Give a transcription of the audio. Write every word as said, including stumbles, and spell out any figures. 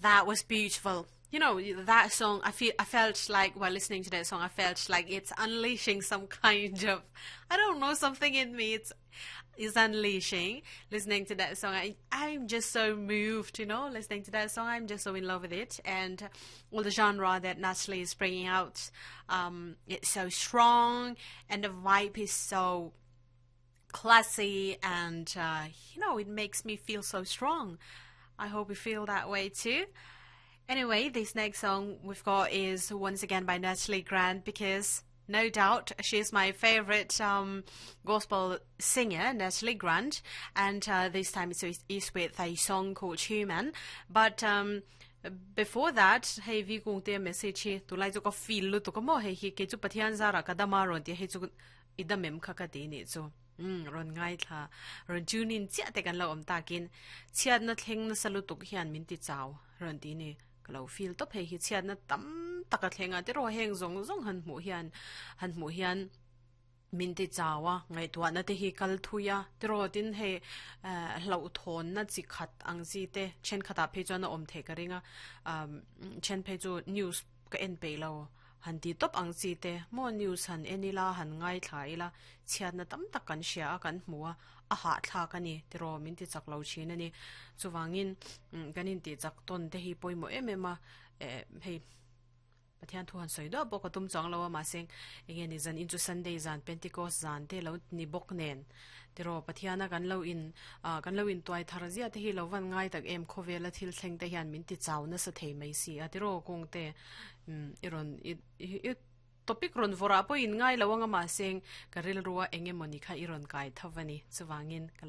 That was beautiful. You know, that song, I feel, I felt like while listening to that song, I felt like it's unleashing some kind of, I don't know, something in me. It's, is unleashing listening to that song. I, I'm just so moved, you know, listening to that song. I'm just so in love with it. And all the genre that Natalie is bringing out, um, it's so strong and the vibe is so classy and, uh, you know, it makes me feel so strong. I hope you feel that way too. Anyway, this next song we've got is once again by Natalie Grant because no doubt she's my favorite um, gospel singer, Natalie Grant, and uh, this time it's, it's with a song called Human. But um, before that, hei vi kung te message hi tulai chu ka feel lu tu ka mo hei hi ke chu pathian zara ka dama ron ti hei chu idamem kha ka ti ni chu um ron ngai tha ron tunin chia te kan lo om takin chiat na thleng na salu tuk hian min ti chaw ron ti ni ka lo feel top hei hi chiat na tam taka thlenga te ro heng zong zong han mu hian han mu hian min ti chawa ngai tua na te hi kal thuya te ro tin he hlo thon na chi khat ang chi te chen khata phe chuan na om the ka ringa um chen phe chu news ka en pe lo han ti top ang chi te mo news han enila han ngai thla ila chiat na tam tak kan sia kan hmuwa a ha thla ka ni te ro min ti chak lo chin ani chuwangin kanin ti chak ton te hi poimo em em a hei pathian thu han soi do bok atum chang lo ma seng enge ni zan in chu sunday zan pentecost zan te lo ni bok nen te ro pathiana kan lo in kan lo in toy thar zia te hi lo van ngai tak em khowela thil thleng te hian min ti chaw na sa thei mai si a te ro kong te iron i topic ron vora po in ngai lo anga ma seng karil ruwa enge moni kha iron kai thavani chuwangin